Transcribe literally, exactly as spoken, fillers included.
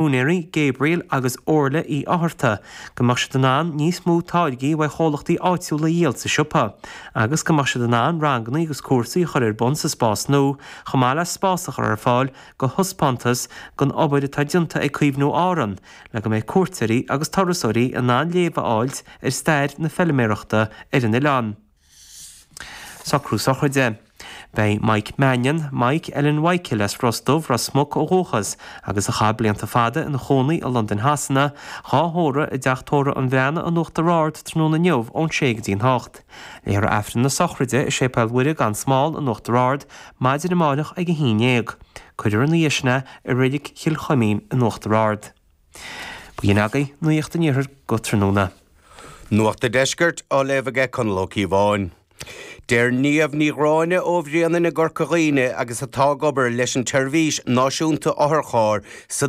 Úinéirí Gabriel agus Orla Uí Fhátharta go mbeadh siad in ann níos mó táirgí ó chomhlachtaí áitiúla a dhíol sa siopa, agus go mbeadh siad in ann ranganna agus cúrsaí a chur ar bun sa spás nua, chomh maith le spás a chur ar fáil do thaispeántas den obair atá déanta ag Caomhnú Árann, le go mbeidh cuairteoirí agus turasóirí in ann léamh a fháilt ar stair na feilméarachta ar an oileán. Socrú sochraide. Beidh Mike Mannion, Mike Ellen Michael as Ros Dubh Ros Muc ó dhúchas, agus a chaith blianta fada ina chónaí i Londain Shasana, dhá thórramh i dteach tórraimh an Bhreathnaigh in Uachtar Ard tráthnóna inniu ón sé go dtí an hocht. Léifear Aifreann na sochraide i Séipéal Mhuire gan Smál in Uachtar Ard maidin amárach ag a haon déag. Cuirfear ina dhiaidh sin é i Reilig Chill Chuimín in Uachtar Ard. B'in agaibh Nuacht an Iarthair go tráthnóna. Nuacht an Deiscirt á léamh aige Conall Ó Cíobháin. Deir Niamh Ní Ghráinne ó Bhréanainn i gCorca Dhuibhne agus atá ag obair leis an tseirbhís náisiúnta otharchairr sa